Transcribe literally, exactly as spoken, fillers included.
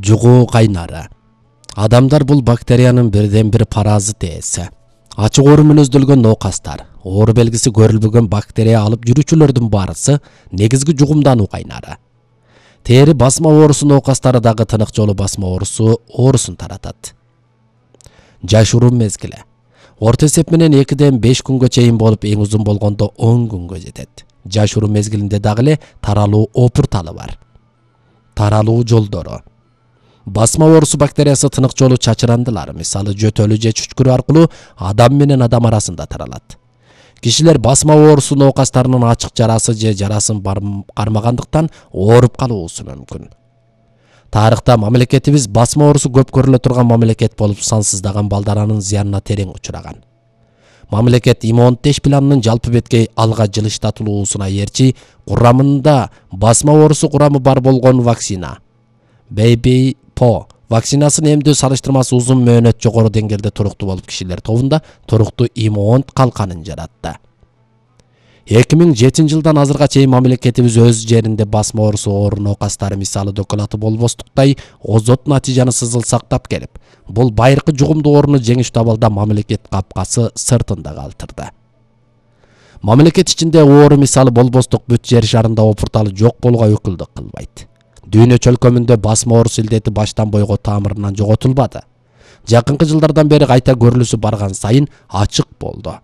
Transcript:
Жугуу кайнары. Адамдар бул бактериянын бирден бир паразит ээси. Ачык оору менен өздөлгөн ноокастар, оору белгиси көрүлбөгөн бактерия алып жүрүүчүлөрдүн баарысы негизги жугумдануу кайнары. Тери басма оорусу ноокастары дагы тынык жолу басма оорусу оорусун таратат. Жашыруу мезгили. Орто эсеп менен экиден беш күнгө чейин болуп, эң узун болгондо он күнгө жетет. Жашыруу мезгилинде дагы эле таралуу опурталы бар. Таралуу жолдору. Басма оорусу бактериясы тынык жолу чачырандылар, мисалы жөтөлү же чүчкүрү аркылуу адам менен адам арасында таралат. Кишилер басма оорусу ноокастарынын ачык жарасы же жарасын кармагандыктан ооруп калуусу мүмкүн. Тарыхта мамлекетибиз басма оорусу көп көрүлө турган мамлекет болуп, сансыздаган балдаранын зыянына терең учураган. Мамлекет иммунитет планынын жалпы беткей алга жылыштатылуусуна ээрчи курамында басма оорусу курамы бар болгон вакцина Baby По вакцинасын эмдөө салыштырмасы узун мөөнөт жогору деңгээлде туруктуу болуп, кишилер тобунда туруктуу иммун калканын жаратты. эки миң жетинчи жылдан азырга чейин мамлекетибиз өз жеринде басма оорусу оору ноокастары мисалы доколаты болбостуктай озот натыйжаны сызыл сактап келип, бул байыркы жугумдуу ооруну жеңиш табалда мамлекет капкасы сыртында калтырды. Мамлекет ичинде оору мисалы болбостук бүт жер шарында опурталы жок болууга өкүлдүк кылбайт. Дүйнө чөлкөмүндө басма оорусу илдети баштан бойго тамырынан жоготулбады. Жакынкы жылдардан бери кайта көрүлүсү барган сайын ачык болду.